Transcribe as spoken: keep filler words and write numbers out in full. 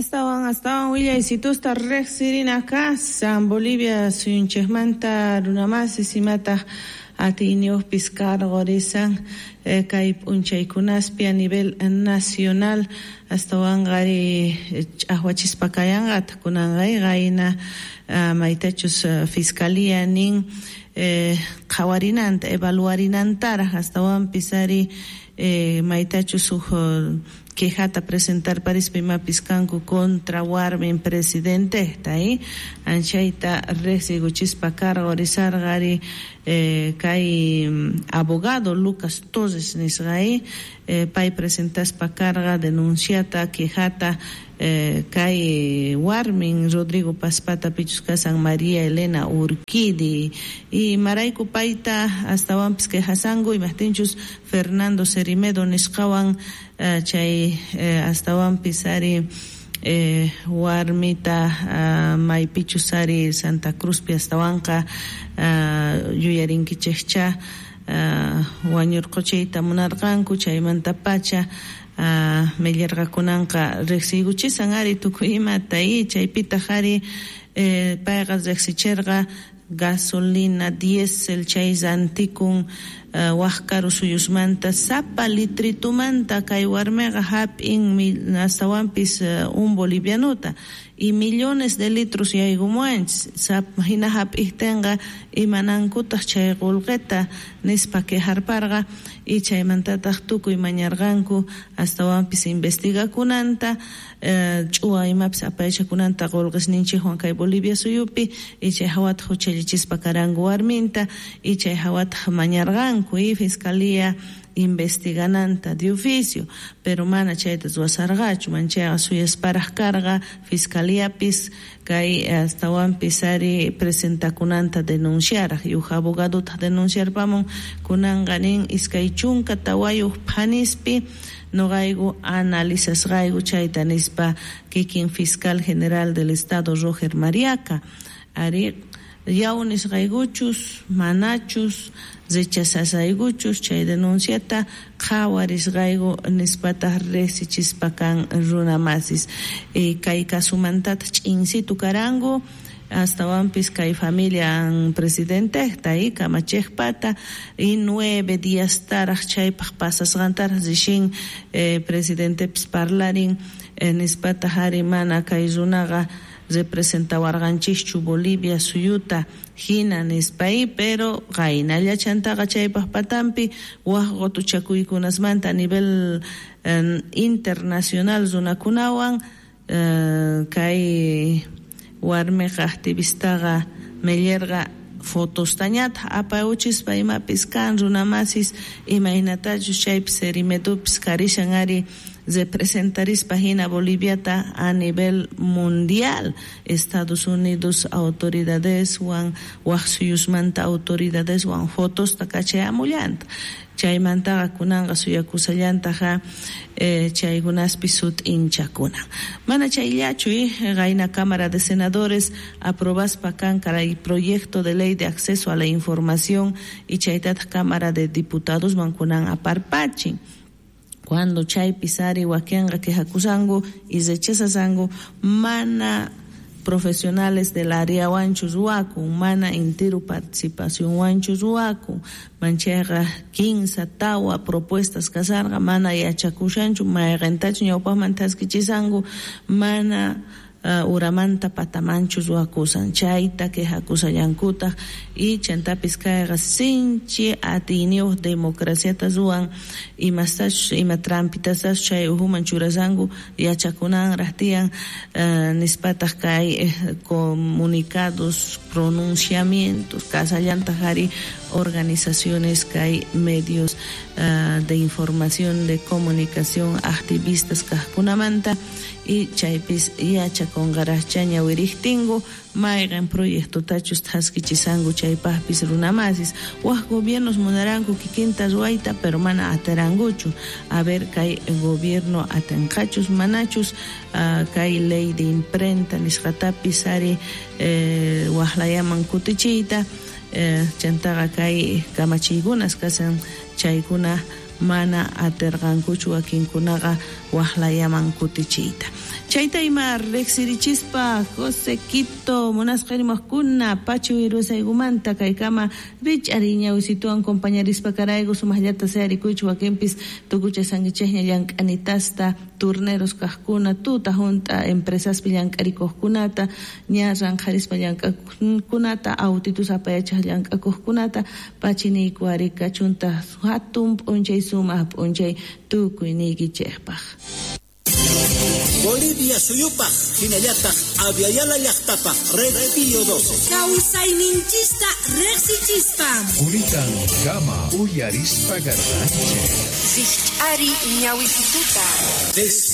Astawan astawan willaysitusta riqsirina kasan Bolivia suyunchikmanta runamasis imataq atiyniyuqpis karqurisan eh, kay p'unchaykunaspi a nivel nacional astawanqa ari ch'aqwachispa kayanqataq kunanqa qayna uh, maytachus uh, fiscalía nin eh, qhawarinanta evaluarinantaraq astawanpis ari eh, maytachus huk uh, quejata presentar parispa imapis kanku contra warmin presidentejta eh? Anchayta riqsiykuchispa karqurisarqa ari eh, kay abogado Lucas Torres nisqa eh, pay presentaspa karqa denunciata quejata eh, kay warmin Rodrigo Pazpata pichus kasan María Elena Urquidi y marayku payta astawanpis quejasanku imajtinchus Fernando Cerimedo nisqawan uh, chay eh, astawanpis ari eh, warmita uh, maypichus ari Santa Cruzpi astawanqa uh, yuyarinkichikcha uh, wañurquchiyta munarqanku chaymantapacha uh, millarqakunanqa riqsiykuchisan ari tukuy imata y chaypitaq ari eh, payqa riqsichirqa gasolina, diésel chay rantikun uh, wak karu suyusmanta sapa litritumanta kay warmiqa hap'in astawanpis uh, un bolivianuta y millones de litros yaykumuanchis sapa hina hap'ijtinqa imanankutaq chay qullqita nispa quejarparqa y chaymantataq tukuy mañarqanku astawanpis investigakunanta uh, ch'uwa imapis apaychakunanta qullqisninchikwan kay Bolivia suyupi y chay hawataq huchallichispa karanku warminta y chay hawataq mañarqanku y fiscalía investigananta de oficio, pero mana chayta ruwasarqachu manchayqa suyasparaq karqa fiscaliapis kay astawanpis ari presentakunanta denunciaraq y huk abogadotaq denunciarpamun kunanqa nin iskay chunka tawayuq phanispi noqayku analizasqayku chayta nispa kikin fiscal general del estado Roger Mariaca ari yaw nisqaykuchus manachus rechazasaykuchus chay denunciata qhawarisqayku nispataq riqsichispa kan runamasis e, kay kasumantataq ch'insitu karanku astawanpis kay familia presidentejta y kamachejpata y nueve días taraq chaypaq pasasqantaraq rishin eh, presidentepis parlarin eh, nispataq ari mana kay runaqa representawarqanchikchu Bolivia suyuta hina nispa y pero qaynalla chantaqa chaypaq patampi wak qutuchakuykunasmanta a nivel eh, internacional runakunawan eh, kay warmiqa activistaqa millerqa fotostañataq apayuchispa imapis kan runamasis imaynatachus chaypis Cerimedopi karishan ari representarispa hina Boliviata a nivel mundial Estados Unidos autoridadeswan wak suyusmanta autoridadeswan fotosta kachayamullanta chaymantaqa kunanqa suyakusallantaqa eh, chaykunaspi sut'inchakunan mana chayllachu eh, qayna Cámara de Senadores aprobaspa kan kay proyecto de ley de acceso a la información y chaytataq Cámara de Diputados kunan aparpachin cuando chaypis ari wakinqa quejakusanku y rechazasanku mana profesionales del área wanchu ruwakun mana intiru participación wanchu ruwakun manchayqa kinsa tawa propuestas kasarqa mana yachakushanchu mayqintachu ñawpaqman thaskichisanku mana uh, uramanta patamanchu ruwakusan chayta quejakusallankutaq y chantapis kayqa sinchi atiyniyuq democraciata ruwan imastachus ima trampitasachus chay uhuman churasanku yachakunanraq tiyan uh, nispataq kay eh, comunicados pronunciamientos kasallantaq ari organizaciones kay medios uh, de información de comunicación activistas kaqkunamanta y chaypis yachakunqaraqcha ñawiriqtinku mayqin proyectotachus thaskichisanku chaypaqpis runamasis wak gobiernos munaranku kikinta ruwayta pero mana atirankuchu a ver kay gobierno atinqachus manachus uh, kay ley de imprenta nisqatapis ari eh, waqlayaman kutichiyta eh, chantaqa kay kamachiykunas kasan chaykuna mana atirqankuchu wakinkunaqa waqlayaman kutichiyta. Chayta ima riqsirichispa José Quito munasqa rimaqkuna pachu wirusaykumanta kaykama rich'ariña wisituwan compañarispa karayku sumaqllata sayarikuychu wakinpis tukuchasankichikña llank'anitasta turneros kaqkuna tuta junt'a empresaspi llank'arikuqkunata ña ranqharispa llank'akunata autitus apayachaq llank'akuqkunata pachiniyku ari kachunta hatun p'unchay sumaq p'unchay tukuyniykichikpaq. Bolivia suyupaq hinallataq Aviala llaqtapaq Red Pío doce. Kawsayninchista riqsichispa. Kulitan kama uyarispa garranchik. Rijch'ari ñawisituta. Despierta.